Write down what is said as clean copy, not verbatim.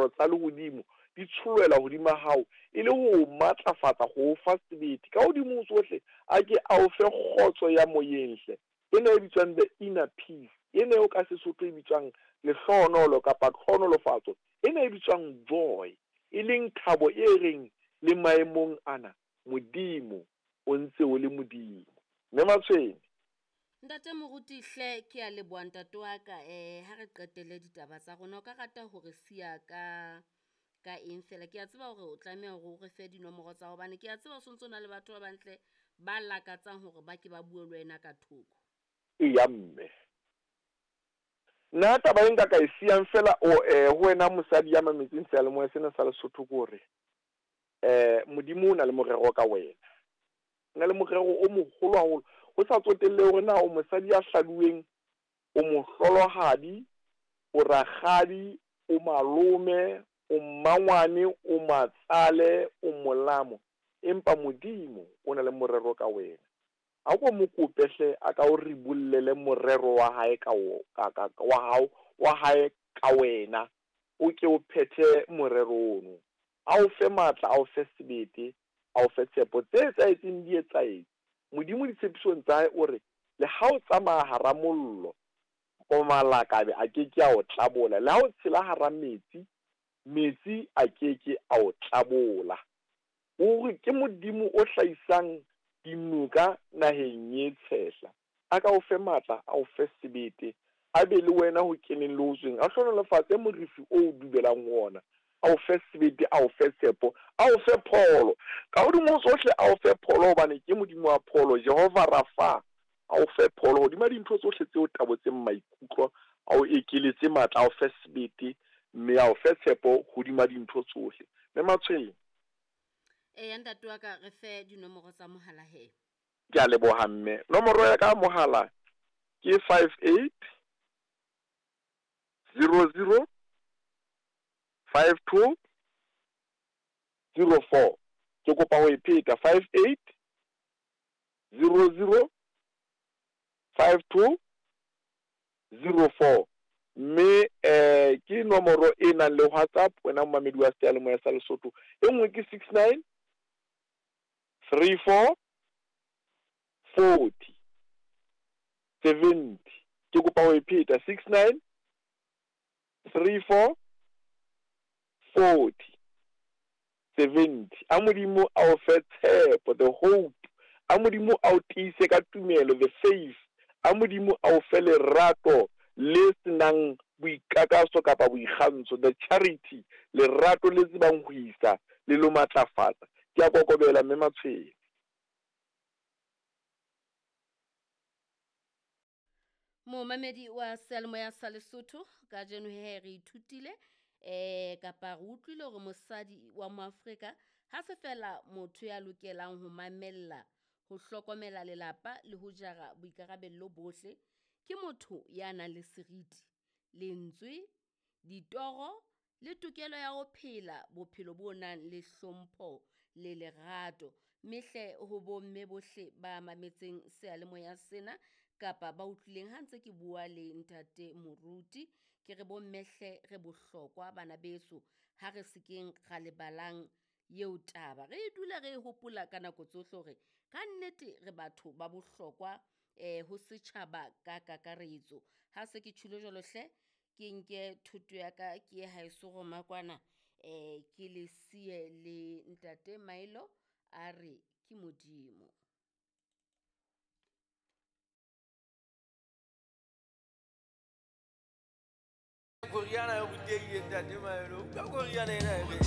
Ditlhohonolofatso tsa lehodimo di tsholohela hodima hao e le ho o matlafatsa, ho o fa sebete. Ka hodimo ho tsohle, a ke a o fe kgotso ya moyeng hle, ena e bitswang the inner peace, ena eo ka Sesotho e bitswang lehlohonolo kapa tlhohonolofatso, ena e bitswang joy, e leng thabo e reng le maemong ana, Modimo o ntse o le Modimo. Mme Matshwene. Ntate Moruti hle ke a leboha ntate wa ka eh ha re qetele ditaba tsa rona o ka rata hore siya ka ka eng fela ke a tseba hore o tlameha hore o re fe dinomoro tsa hobane ke a tseba o sontso o na le batho ba bantle ba lakatsang hore ba ke ba bue le wena ka thoko. Eya mme. Nna taba e nka ka e siyang fela o eh ho wena mosadi ya mametseng seyalemoya sena sa Lesotho ke hore eh Modimo o na le morero ka wena. O na le morero o moholo haholo ho sa tsotellehe hore na o mosadi ya hladuweng, o mohlolohadi, o rakgadi, o malome, o mmangwane, o matsale, o molamo, empa Modimo o na le morero ka wena. A ko mo kope hle a ka o ribollele morero wa hae ka ka ka wa hao wa hae ka wena, o ke o phethe morero ono. A o fe matla, a o fe sebete, a o fe tshepo. Tse etsahetseng di etsahetse. Modimo ditshepisong tsa hae o re, Le ha o tsamaya hara mollo, o malakabe a ke ke a o tlabola, le ha o tshela hara metsi, metsi a ke ke a o tlabola. Ruri ke Modimo o hlahisang dinoka naheng e tshehla. A ka o fe matla, a o fe sebete, a be le wena ho keneng le ho tsweng, a hlohonolofatse morifi o o dubelang ho wona, a o fe sebete, a o fe tshepo, a o fe pholo. Ka hodimo ho tsohle, a o fe pholo, hobane ke Modimo wa pholo, Jehova Rafa, a o fe pholo hodima dintho tsohle tse o tabotseng maikutlo, a o ekeletse matla, a o fe sebete, mme a o fe tshepo hodima dintho tsohle. Mme Matshwele. Eya ntate wa ka, re fe dinomoro tsa mohala he. Ke a leboha mme. Nomoro ya ka ya mohala ke 58 00 52 04. Ke kopa ho e pheta 58 00 52 04. Mme eh ke nomoro e nang le WhatsApp wena momamedi wa seyalemoya sa Lesotho. E nngwe ke 69 3 4 40 70. Ke kopa ho e pheta 69 3 4 40 70. A Modimo a o fe tshepo, the hope. A Modimo a o tiise ka tumelo, the faith. A Modimo a o fe lerato le se nang boikakaso kapa boikgantsho, the charity, lerato le tsebang ho isa le lo matlafatsa. Ke a kokobela Mme Matshwele. Momamedi wa seyalemoya sa Lesotho, kajeno he re ithutile eh kapa re utlwile hore mosadi wa Moafrika ha se fela motho ya lokelang ho mamella, ho hlokomela lelapa le ho jara boikarabello bohle. Ke motho ya nang le seriti, lentswe, ditoro le tokelo ya ho phela bophelo bo nang le hlompho le lerato. Mme hle ho bomme bohle ba mametseng seyalemoya sena kapa ba utlwileng ha ntse ke bua le ntate Moruti, ke re bomme hle re bohlokwa bana beso, ha re sekeng ra lebalang eo taba. Re dule re e hopola ka nako tsohle hore ka nnete re batho ba bohlokwa eh ho setjhaba ka kakaretso. Ha se ke tjholo jwalo hle, ke nke thoto ya ka ke ye haeso Roma kwana eh ke le siye le ntate Mailo a re ke Modimo. Koriana e rutehile ntate Maelo. Utlwa koriana ena e re.